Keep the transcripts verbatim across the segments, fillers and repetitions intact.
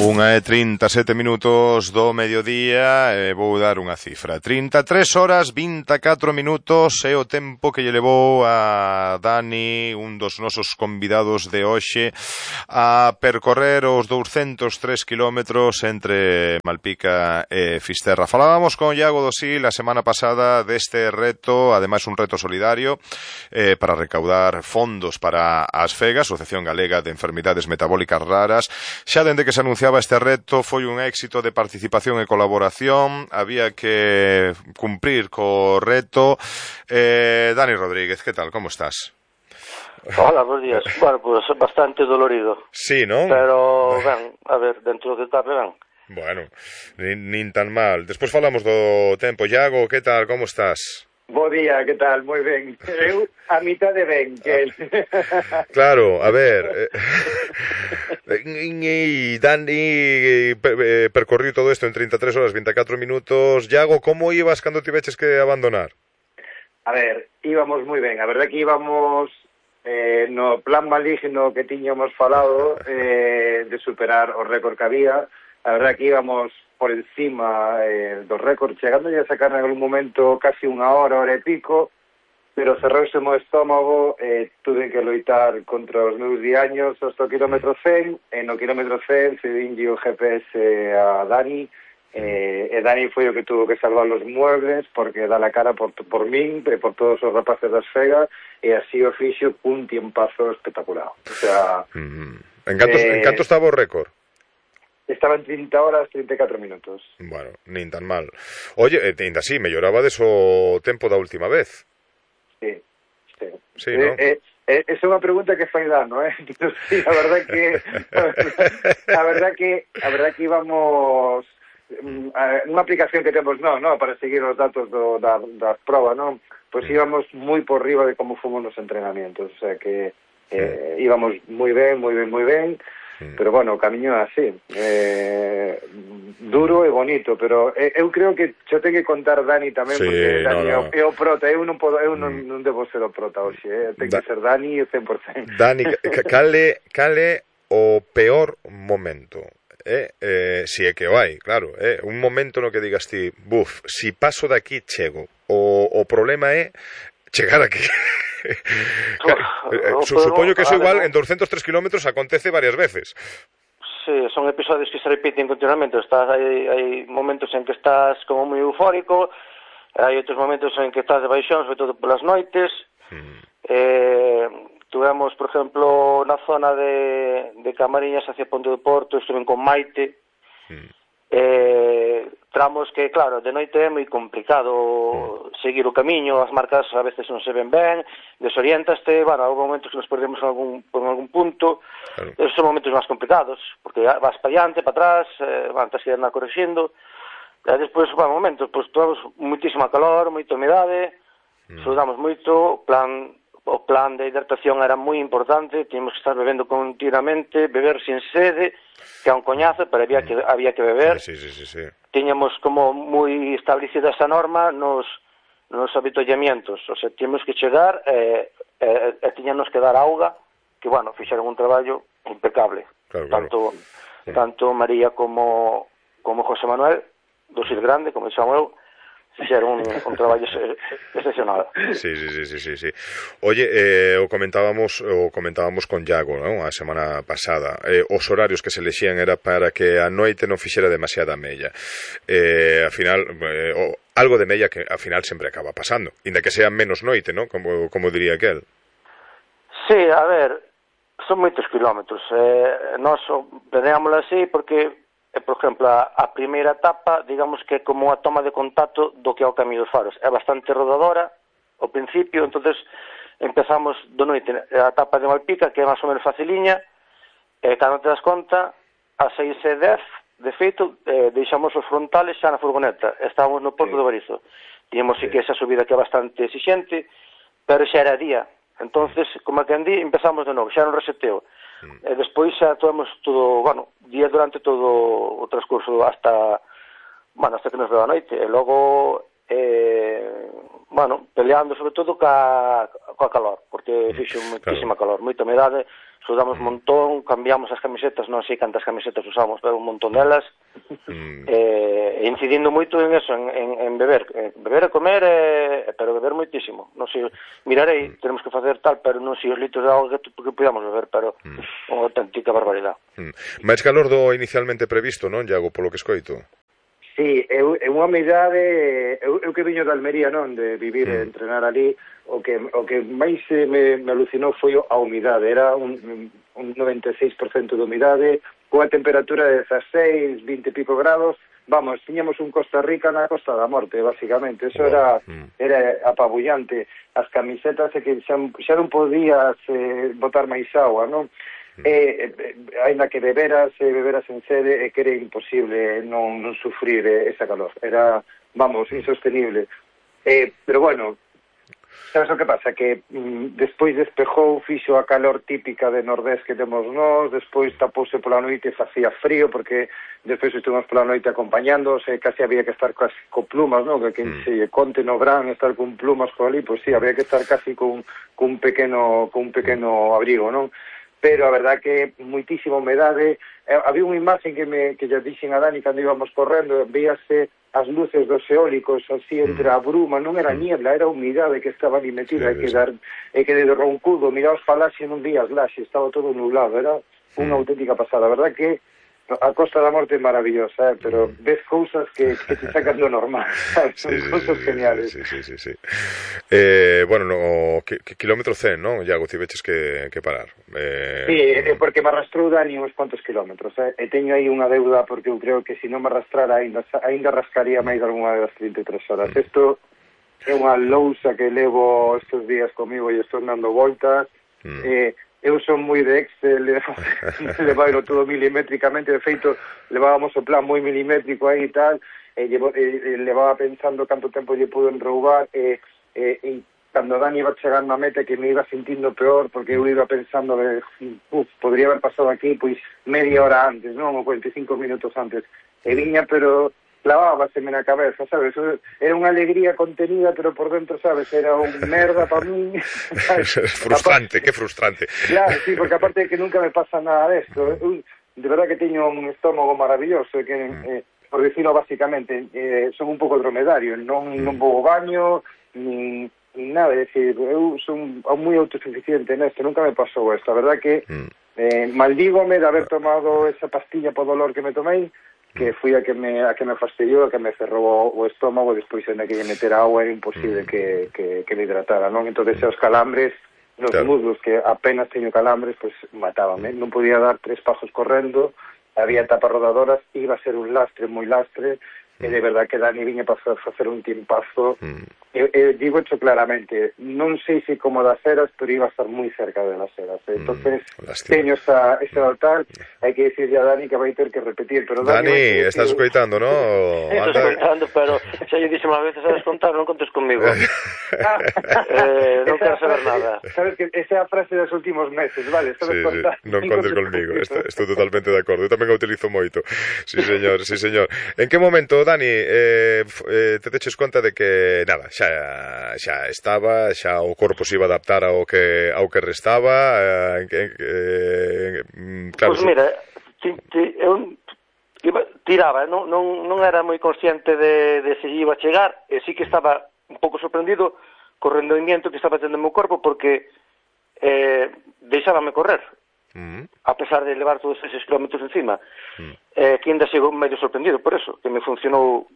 Unha e trinta e sete minutos do mediodía e vou dar unha cifra. trinta e tres horas vinte e catro minutos é o tempo que lle levou a Dani, un dos nosos convidados de hoxe, a percorrer os douscentos tres kilómetros entre Malpica e Fisterra. Falábamos con Iago Dosil a semana pasada deste reto, ademais un reto solidario, eh, para recaudar fondos para as FEGA, Asociación Galega de Enfermidades Metabólicas Raras. Xa dende que se anunciaba este reto foi un éxito de participación e colaboración, había que cumprir co reto. eh, Dani Rodríguez, que tal, como estás? Hola, bons días. Bueno, pues bastante dolorido. Sí, non? Pero, ben, a ver, dentro do que cabe, ben. Bueno, nin, nin tan mal. Despois falamos do tempo. Iago, que tal, como estás? Bo día, que tal? Moi ben. Eu a mitad de ben, que el. Claro, a ver. E Dani percorriu todo isto en trinta e tres horas vinte e catro minutos. Iago, como ibas cando tiveches que abandonar? A ver, íbamos moi ben. A verdade que íbamos eh, no plan maligno que tiñamos falado eh, de superar o récord que había. A verdade que íbamos por encima eh, dos récords, chegando a sacar en algún momento casi unha hora, hora e pico, pero cerrouse o estómago, eh, tuve que loitar contra os meus diaños hasta o kilómetro cen, e no kilómetro cen se dinlle o G P S a Dani, eh, e Dani foi o que tuvo que salvar os muebles, porque dá la cara por, por min, e por todos os rapaces das FEGA, e así o fixo cun tiempazo espectacular. O sea... Mm-hmm. En canto, eh, en canto estaba o récord? Estaba en trinta horas, trinta e catro minutos. Bueno, nin tan mal. Oye, ainda así, mellorabades o tempo da última vez. Sí, sí. Sí, eh, ¿no? Eh, eh, esa é unha pregunta que fai dano, eh? Sí, a verdad que a verdad que a verdad que íbamos unha aplicación que temos, non, no, para seguir os datos do, da, da prova, non? Pois íbamos moi por riba de como fomos nos entrenamientos, o sea que eh, íbamos moi ben, moi ben, moi ben. Pero bueno, o camiño é así, eh, duro e bonito, pero eh, eu creo que xo ten que contar Dani tamén, sí, porque Dani no, no. é o prota, eu non podo, eu non, non debo ser o prota hoxe, eh? ten da... que ser Dani cen por cen. Dani, cale, cale o peor momento, eh? Eh, si é que o hai, claro, eh? un momento no que digas ti, buf, si paso de aquí chego, o, o problema é chegar aquí. Claro, supoño que eso igual en douscentos tres kilómetros acontece varias veces. Sí, son episodios que se repiten continuamente. Estás, hai, hai momentos en que estás como moi eufórico, hai outros momentos en que estás de baixón, sobre todo polas noites. Mm. Eh, tuvemos, por exemplo, na zona de, de Camariñas hacia Ponte do Porto, estuve con Maite. Mm. Eh, tramos que, claro, de noite é moi complicado mm. seguir o camiño, as marcas a veces non se ven ben, desorientaste, bueno, houve momentos que nos perdemos en algún, en algún punto, claro. Esos son momentos máis complicados, porque vas para diante, para atrás, eh, bueno, estás que andar corrixindo, e despois, bueno, momentos, pois, tuvamos muitísima calor, moita humidade, mm. sudamos moito, plan... o plan de hidratación era moi importante, tínhamos que estar bebendo continuamente, beber sin sede, que é un coñazo, pero había que, había que beber. Sí, sí, sí, sí. Tiñamos como moi establecida esa norma nos, nos habituallamientos, o sea, tínhamos que chegar e, e, e tiñamos que dar auga, que, bueno, fixeron un traballo impecable. Claro, tanto, claro. Sí. tanto María como, como José Manuel, Dosil Grande, como Samuel, fixeron un, un traballo excepcional. Sí, sí, sí, sí, sí, sí. Oye, eh, o comentábamos o comentábamos con Iago, ¿no? A semana pasada. Eh, os horarios que se elexían era para que a noite non fixera demasiada mella. Eh, a final, eh, o, algo de mella que a final sempre acaba pasando, inda que sea menos noite, ¿no? Como, como diría aquel. Sí, a ver, son moitos kilómetros. Eh, nós planeámoslo así porque E, por exemplo, a, a primeira etapa, digamos que é como a toma de contacto do que é o Camiño dos Faros. É bastante rodadora ao principio, entonces empezamos do noite a etapa de Malpica, que é máis ou menos faciliña, e cando te das conta, a seis e dez, de feito, eh, deixamos os frontales xa na furgoneta. Estábamos no Porto sí. do Barizo. Tínhamos sí. que esa subida que é bastante exixente, pero xa era día. Entonces, como que andí, empezamos de novo, xa era un reseteo. E despois xa tuvemos todo, bueno, día durante todo o transcurso hasta, bueno, hasta que nos deu a noite. E logo, eh, bueno, peleando sobre todo ca, coa calor, porque fixo moitísima claro. calor, moita humedade, sudamos un montón, cambiamos as camisetas, non sei cantas camisetas usamos, pero un montón delas, Mm. eh, incidindo moito en eso, en, en, en beber, eh, beber e comer, eh, pero beber moitísimo, non sei, mirarei, tenemos que facer tal, pero non sei os litros de auga que, que podamos beber, pero mm. unha auténtica barbaridade. Mm. Máis calor do inicialmente previsto, non, Iago, polo que escoito? Sí, é unha humidade, eu, eu que viño de Almería, non, de vivir e mm. entrenar ali, o que o que máis me, me alucinou foi a humidade, era un, un noventa e seis por cento de humidade, coa temperatura de dezaseis, vinte e pico grados, vamos, tiñamos un Costa Rica na Costa da Morte, basicamente, eso era mm. era apabullante, as camisetas é que xa, xa non podías eh, botar máis agua, non? Mm. Eh, eh, ainda que beberas e eh, beberas en sede, é que era imposible non, non sufrir eh, esa calor, era, vamos, insostenible. Eh, pero bueno, sabes o que pasa? Que mm, despois despejou, fixo a calor típica de Nordés que temos nós, despois tapouse pola noite e facía frío, porque despois estuvimos pola noite acompañándoos, e casi había que estar casi co plumas, non? Que, que mm. se conte no verán estar con plumas por ali, pois sí, había que estar casi con, con un pequeno con un pequeno abrigo, non? Pero a verdad que moitísima humedade, eh, había unha imagen que me que ya dixen a Dani cando íbamos correndo, víase as luces dos eólicos así entre a bruma, non era niebla, era humidade que estaba ali metida, sí, e que dar, e que de roncudo, mirabas para laxe non vías laxe, estaba todo nublado, era unha mm. auténtica pasada, a verdad que a Costa da Morte é maravillosa, eh, pero mm. ves cousas que, que te sacan do normal, ¿sabes? Son sí, cousas sí, geniales. Sí, sí, sí, sí. Eh, bueno, no, que, que kilómetro cen, non? Iago, tiveches que, que parar. Eh, sí, no. Porque me arrastrou Dani uns cuantos kilómetros, eh? E teño aí unha deuda porque eu creo que se non me arrastrara ainda, ainda rascaría máis algunha das trinta e tres horas. Isto mm. é unha lousa que levo estes días comigo e estou dando voltas, mm. eh, eu son moi de Excel, leváilo todo milimétricamente, de feito, levábamos o plan moi milimétrico aí e tal, e, llevo, e, e levaba pensando canto tempo lle pudo enroubar, e, e, e cando Dani iba chegando a meta que me iba sentindo peor, porque eu iba pensando de, uf, podría haber pasado aquí, pois, media hora antes, non, ou cuarenta e cinco minutos antes, e viña, pero clavábaseme na cabeza, sabes? Era unha alegría contenida, pero por dentro, sabes? Era un merda para mí. Frustrante, aparte, que frustrante. Claro, sí, porque aparte de que nunca me pasa nada de esto. Mm. De verdad que teño un estómago maravilloso, que, mm. eh, por decirlo básicamente, eh, son un pouco dromedario, non, mm. non vou ao baño, nin, nin nada, é dicir, eu son moi autosuficiente nesto, nunca me pasou esto. A verdad que mm. eh, maldígome de haber tomado esa pastilla por dolor que me tomei, que fui a que me a que me fastidiou, a que me cerrou o estómago, despois en que lle meter agua era imposible mm. que, que, que me hidratara, non? Entonces os calambres nos claro. muslos, que apenas teño calambres, pois pues, matábame, mm. non podía dar tres pasos correndo, había tapas rodadoras, iba a ser un lastre, moi lastre, mm. e de verdad que Dani viña para facer un timpazo, mm. e, e digo hecho claramente, non sei se como das eras, pero iba a estar moi cerca de las eras, entonces mm. teño esa, ese altar, hai que decirle a Dani que vai ter que repetir, pero Dani, Dani estás escoitando, ¿no? Estás escoitando, pero xa lle dixo unha vez, sabes contar, non contes comigo. eh, non quero saber nada. Sabes que esa é a frase dos últimos meses, vale? Sabes sí, contar. Sí. Non contes comigo, estou, estou totalmente de acordo, eu tamén a utilizo moito. Sí, señor, sí, señor. En que momento, Dani, eh, eh, te deches conta de que, nada, xa xa estaba, xa o corpo se iba a adaptar ao que ao que restaba, eh, eh, claro. Pois pues mira, ti, ti, eu iba, tiraba, non, non, non era moi consciente de, de se iba a chegar, e sí que estaba un pouco sorprendido co rendimento que estaba tendo o meu corpo, porque eh, deixábame correr, mm. a pesar de levar todos esos kilómetros encima, mm. eh, que ainda sigo medio sorprendido por eso, que me funcionou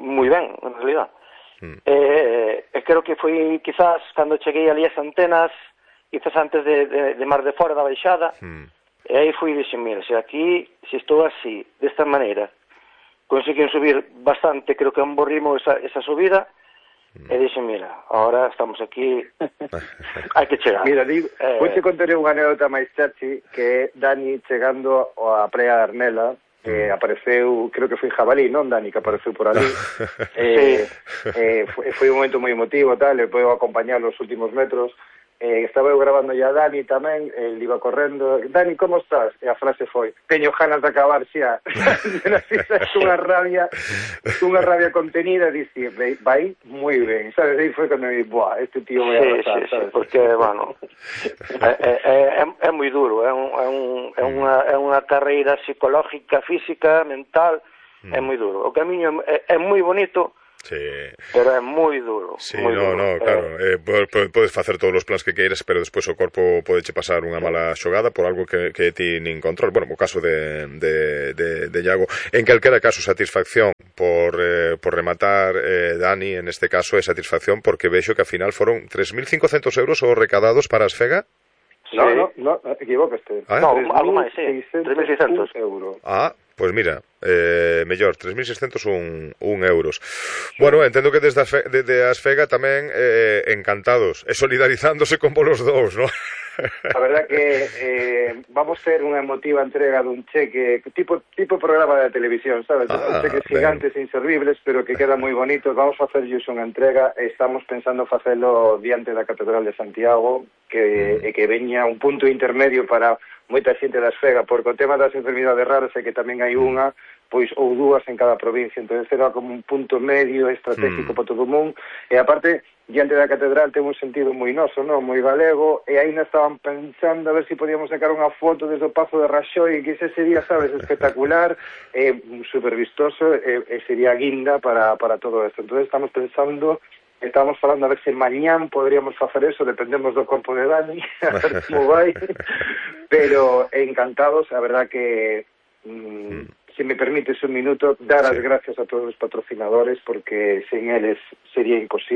moi ben, en realidad. Mm. Eh, eh, creo que foi quizás cando cheguei ali as antenas, quizás antes de, de, de Mar de Fora da baixada, mm. e aí fui e dixen, mira, se aquí, se estou así, desta maneira, conseguen subir bastante, creo que a un bo ritmo esa, esa subida, mm. e dixen, mira, ahora estamos aquí, hai que chegar. Mira, digo, eh, vou te contar unha anécdota máis chachi, que é Dani chegando á praia de Arnela, Eh, apareceu, creo que foi Jabalí, non, Dani, que apareceu por ali. eh, eh, foi, foi un momento moi emotivo, tal, e podo acompañar os últimos metros, eh, estaba eu grabando ya a Dani tamén, el iba correndo, Dani, como estás? E a frase foi, teño ganas de acabar xa. Unha rabia, unha rabia contenida, dice, vai moi ben, sabes? Aí foi cando me di, buah, este tío vai a pasar, sí, sabes? Sí, porque, bueno, é, é, é, é moi duro, é, un, é, un, é, unha, é unha carreira psicológica, física, mental, é moi duro. O camiño é, é moi bonito, sí. Pero é moi duro. Sí, moi no, duro. no, claro. Eh, eh, podes facer todos os plans que queiras, pero despois o corpo podeche pasar unha mala xogada por algo que, que ti nin control. Bueno, o caso de, de, de, de Iago. En calquera caso, satisfacción por, eh, por rematar, eh, Dani, en este caso, é satisfacción porque vexo que ao final foron tres mil cincocentos euros os recadados para as Fega. No, sí. no, no, equivócaste. Ah, no, algo máis, sí. tres mil seiscentos euros. Ah, pois pues mira, eh, mellor, tres mil seiscentos un, un euros. Sí. Bueno, entendo que desde as, fe, desde as Fega tamén eh, encantados e solidarizándose con vos dous, ¿no? A verdad que eh, vamos a ser unha emotiva entrega dun cheque tipo tipo programa de televisión, sabes? Ah, cheques gigantes e inservibles, pero que queda moi bonito. Vamos a hacerlles unha entrega, estamos pensando facelo diante da Catedral de Santiago, que mm. e que veña un punto intermedio para moita xente das Fega, porque o tema das enfermidades raras é que tamén hai unha, pois ou dúas en cada provincia, entón será como un punto medio estratégico mm. para todo o mundo, e aparte diante da catedral ten un sentido moi noso, non? Moi galego, e aí nos estaban pensando a ver se si podíamos sacar unha foto desde o Pazo de Raxoi, que ese sería, sabes, espectacular, e super vistoso, e, e sería guinda para, para todo esto. Entón estamos pensando, estamos falando a ver se mañán podríamos facer eso, dependemos do corpo de Dani, a ver como vai, pero encantados, a verdad que... Mm, si me permites un minuto, dar as gracias a todos os patrocinadores, porque sen eles sería imposible.